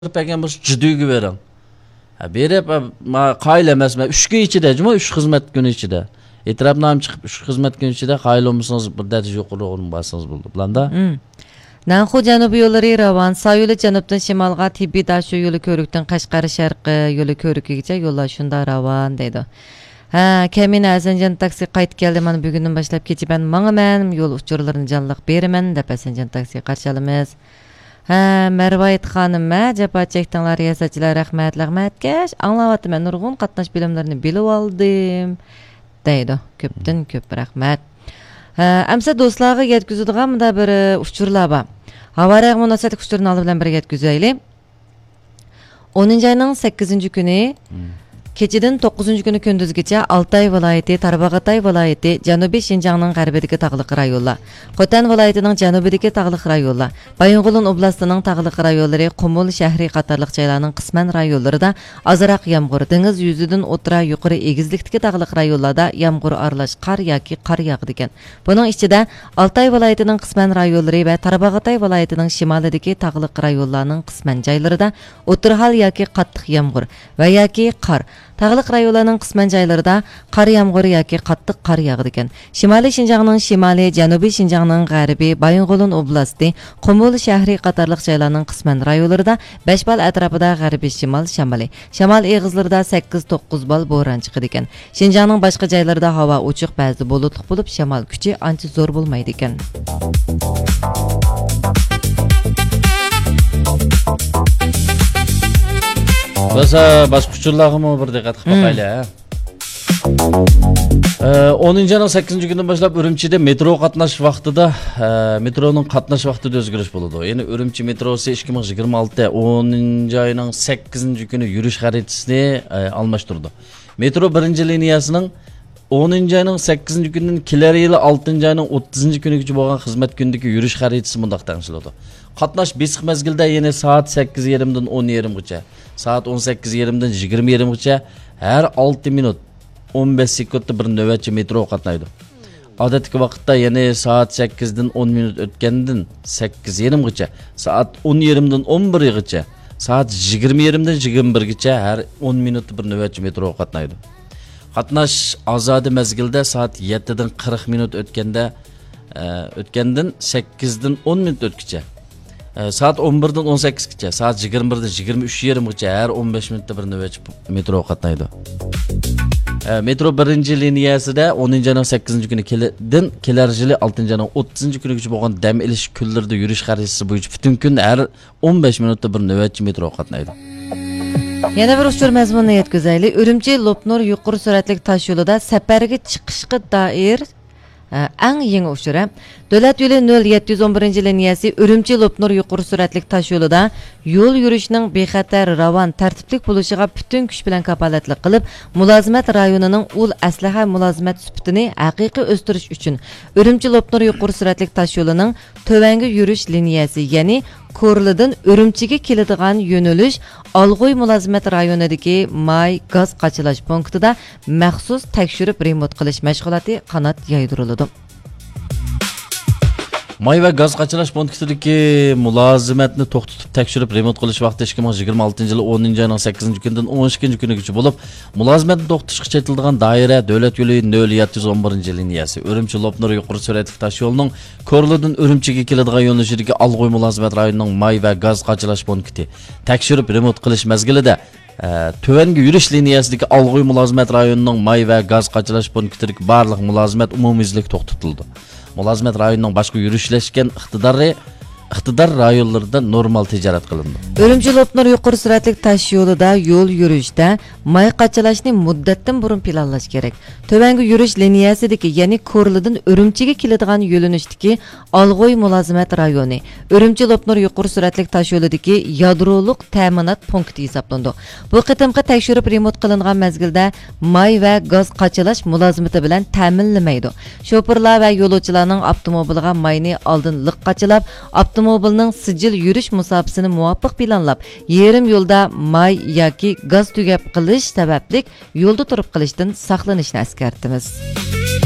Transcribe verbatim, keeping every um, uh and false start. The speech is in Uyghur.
بەرگەن بولسا، جىدۈگە بېرىڭ. ھە، بېرىپ، ھە، ما-، قايىل ئەمەسمەن. ئۈچ كۈن ئىچىدە، جۇمۇ، ئۈچ خىزمەت كۈنى ئىچىدە. ئېتىراپنامە چىقىپ، ئۈچ خىزمەت كۈنى ئىچىدە قايىل بولمىسىڭىز، بىر دەرىجە يۇقىرى ئورۇنغا بارسىڭىز بولىدۇ. بىلەندە؟ مم. نەنخۇ جەنۇبىي يوللىرى راۋان، سا يولى جەنۇبتىن شىمالغا، تىببىي داشۇ يولى كۆۋرۈكتىن قەشقەر شەرقىي يولى كۆۋرۈكىگىچە يوللار شۇنداق راۋان، دەيدۇ. ھە، كەمىنە ھەسەنجان تاكسى قايتىپ كەلدى، مانا بۈگۈندىن باشلاپ كېچە مەن ماڭىمەن، يول ئۇچۇرلىرىنى جانلىق بېرىمەن، دەپ ھەسەنجان تاكسى قارشى ئالىمىز. ھە، مەرۋايىت خانىم، ھە، جاپا چەكتىڭلار، رىياسەتچىلەر، رەھمەت، لەغمەتكەش، ئاڭلاۋاتىمەن، نۇرغۇن قاتناش بىلىملىرىنى بىلىۋالدىم، دەيدۇ. كۆپتىن كۆپ رەھمەت. ھە، ئەمسە دوستلارغا يەتكۈزىدىغان مۇنداق بىر، ئۇچۇرلار بار. ھاۋا رايىغا مۇناسىۋەتلىك ئۇچۇرنى ئالدى بىلەن بىرگە يەتكۈزەيلى. ئونىنچى ئاينىڭ سەككىزىنچى كۈنى مم. كېچىدىن توققۇزىنچى كۈنى كۈندۈزگىچە ئالتاي ۋىلايىتى، تارباغاتاي ۋىلايىتى، جەنۇبىي شىنجاڭنىڭ غەربىدىكى تاغلىق رايونلار، خوتەن ۋىلايىتىنىڭ جەنۇبىدىكى تاغلىق رايونلار، بايىنغولىن ئوبلاستىنىڭ تاغلىق رايونلىرى، قۇمۇل، شەھىرى قاتارلىق جايلارنىڭ قىسمەن رايونلىرىدا ئازراق يامغۇر، دېڭىز يۈزىدىن ئوتتۇرا يۇقىرى ئېگىزلىكتىكى تاغلىق رايونلاردا يامغۇر ئارىلاش قار ياكى قار ياغىدىكەن. بۇنىڭ ئىچىدە، ئالتاي ۋىلايىتىنىڭ قىسمەن رايونلىرى ۋە تارباغاتاي ۋىلايىتىنىڭ شىمالىدىكى تاغلىق رايونلارنىڭ قىسمەن جايلىرىدا ئوتتۇرا ھال ياكى قاتتىق يامغۇر ۋە ياكى قار، تاغلىق رايونلارنىڭ قىسمەن جايلىرىدا قار يامغۇر ياكى قاتتىق قار ياغىدىكەن. شىمالىي شىنجاڭنىڭ شىمالى، جەنۇبىي شىنجاڭنىڭ غەربى، بايىنغولىن ئوبلاستى، قۇمۇل شەھىرى قاتارلىق جايلارنىڭ قىسمەن رايونلىرىدا بەش بال ئەتراپىدا غەربىي شىمال شامىلى، شامال ئېغىزلىرىدا سەككىز توققۇز بال بوران چىقىدىكەن. شىنجاڭنىڭ باشقا جايلىرىدا ھاۋا ئوچۇق، بەزىدە بۇلۇتلۇق بولۇپ، شامال كۈچى ئانچە زور بولمايدىكەن. بولسا باشقا ئۇچۇرلارغىمۇ بىر دىققەت قىلىپ مم. باقايلى، ھە؟ ئە، ئونىنچى ئاينىڭ سەككىزىنچى كۈنىدىن باشلاپ ئۈرۈمچىدە مېترو قاتناش ۋاقتىدا، ئە، مېترونىڭ قاتناش ۋاقتىدا ئۆزگىرىش بولىدۇ. يەنى ئۈرۈمچى مېتروسى ئىككى مىڭ يىگىرمە ئالتە ئونىنچى ئاينىڭ سەككىزىنچى كۈنى يۈرۈش خەرىتىسىنى، ئە، ئالماشتۇرىدۇ. مېترو بىرىنچى لىنىيەسىنىڭ ئونىنچى ئاينىڭ سەككىزىنچى كۈنىدىن كېلەر يىلى ئالتىنچى ئاينىڭ ئوتتۇزىنچى كۈنىگىچە بولغان خىزمەت كۈنىدىكى يۈرۈش خەرىتىسى مۇنداق تەڭشىلىدۇ. قاتناش بېسىق مەزگىلدە، يەنى سائەت سەككىز يېرىمدىن ئون يېرىمغىچە، سائەت ئون سەككىز يېرىمدىن يىگىرمە يېرىمغىچە ھەر ئالتە مىنۇت ئون بەش سېكۇنتتا بىر نۆۋەتچى مېترو قاتنايدۇ. ئادەتتىكى ۋاقىتتا، يەنى سائەت سەككىزدىن ئون مىنۇت ئۆتكەندىن سەككىز يېرىمغىچە، سائەت ئون يېرىمدىن ئون بىرغىچە، سائەت يىگىرمە يېرىمدىن يىگىرمە بىرگىچە ھەر ئون مىنۇتتا بىر نۆۋەتچى مېترو قاتنايدۇ. قاتناش ئازادە مەزگىلدە سائەت يەتتىدىن قىرىق مىنۇت ئۆتكەندە، ئە، ئۆتكەندىن سەككىزدىن ئون مىنۇت ئۆتكىچە، ئە، سائەت ئون بىردىن ئون سەككىزگىچە، سائەت يىگىرمە بىردىن يىگىرمە ئۈچ يېرىمغىچە ھەر ئون بەش مىنۇتتا بىر نۆۋەتچى مېترو قاتنايدۇ. ئە، مېترو بىرىنچى لىنىيەسىدە ئونىنچى ئاينىڭ سەككىزىنچى كۈنى كېلىدىن كېلەر يىلى ئالتىنچى ئاينىڭ ئوتتۇزىنچى كۈنىگىچە بولغان دەم ئېلىش كۈنلىرىدە يۈرۈش خەرىتىسى بويىچە پۈتۈن كۈن ھەر ئون بەش مىنۇتتا بىر نۆۋەتچى مېترو قاتنايدۇ. يەنە بىر ئۇچۇر مەزمۇنىنى يەتكۈزەيلى. ئۈرۈمچى لوپنۇر يۇقىرى سۈرئەتلىك تاش يولىدا سەپەرگە چىقىشقا دائىر، ئە، ئەڭ يېڭى ئۇچۇر، ھە. دۆلەت يولى نۆل يەتتە يۈز ئون بىرىنچى لىنىيەسى ئۈرۈمچى لوپنۇر يۇقىرى سۈرئەتلىك تاش يولىدا يول يۈرۈشنىڭ بىخەتەر، راۋان، تەرتىپلىك بولۇشىغا پۈتۈن كۈچ بىلەن كاپالەتلىك قىلىپ، مۇلازىمەت رايونىنىڭ ئۇل ئەسلىھە مۇلازىمەت سۈپىتىنى ھەقىقىي ئۆستۈرۈش ئۈچۈن، ئۈرۈمچى لوپنۇر يۇقىرى سۈرئەتلىك تاش يولىنىڭ تۆۋەنگە يۈرۈش لىنىيەسى، يەنى كورلىدىن ئۈرۈمچىگە كېلىدىغان يۆنىلىش ئالغۇي مۇلازىمەت رايونىدىكى ماي گاز قاچىلاش پونكىتىدا مەخسۇس تەكشۈرۈپ رېمونت قىلىش مەشغۇلاتى قانات يايدۇرۇلىدۇ. ماي ۋە گاز قاچىلاش پونكىتىدىكى مۇلازىمەتنى توختىتىپ تەكشۈرۈپ رېمونت قىلىش ۋاقتى ئىككى مىڭ يىگىرمە ئالتىنچى يىلى ئونىنچى ئاينىڭ سەككىزىنچى كۈنىدىن ئون ئىككىنچى كۈنىگىچە بولۇپ، مۇلازىمەتنى توختىتىشقا چېتىلىدىغان دائىرە دۆلەت يولى نۆل يەتتە يۈز ئون بىرىنچى لىنىيەسى، ئۈرۈمچى لوپنۇر يۇقىرى سۈرئەتلىك تاش يولىنىڭ كورلىدىن ئۈرۈمچىگە كېلىدىغان يۆنىلىشىدىكى ئالغۇي مۇلازىمەت رايونىنىڭ ماي ۋە گاز قاچىلاش پونكىتى تەكشۈرۈپ رېمونت قىلىش مەزگىلىدە، ئە، تۆۋەنگە يۈرۈش لىنىيەسىدىكى ئالغۇي مۇلازىمەت رايونىنىڭ ماي ۋە گاز قاچىلاش پونكىتىدىكى بارلىق مۇلازىمەت ئومۇميۈزلۈك توختىتىلىدۇ. مۇلازىمەت رايونىنىڭ باشقا يۈرۈشلەشكەن ئىقتىدارى، ئىقتىدار رايونلىرىدا نورمال تىجارەت قىلىنىدۇ. ئۈرۈمچى لوپنۇر يۇقىرى سۈرئەتلىك تاش يولىدا يول يۈرۈشتە ماي قاچىلاشنى مۇددەتتىن بۇرۇن پىلانلاش كېرەك. تۆۋەنگە يۈرۈش لىنىيەسىدىكى، يەنى كورلىدىن ئۈرۈمچىگە كېلىدىغان يۆنىلىشتىكى ئالغۇي مۇلازىمەت رايونى، ئۈرۈمچى لوپنۇر يۇقىرى سۈرئەتلىك تاش يولىدىكى يادرولۇق تەمىنات پونكىتى ھېسابلىنىدۇ. بۇ قېتىمقى تەكشۈرۈپ رېمونت قىلىنغان مەزگىلدە ماي ۋە گاز قاچىلاش مۇلازىمىتى بىلەن تەمىنلىمەيدۇ. شوپۇرلار ۋە يولۇچىلارنىڭ ئاپتوموبىلغا ماينى ئالدىن لىق قاچىلاپ، ئاپتوموبىلنىڭ سىجىل يۈرۈش مۇساپىسىنى مۇۋاپىق پىلانلاپ، يېرىم يولدا ماي ياكى گاز تۈگەپ قېلىش سەۋەبلىك يولدا تۇرۇپ قېلىشتىن ساقلىنىشنى ئەسكەرتىمىز.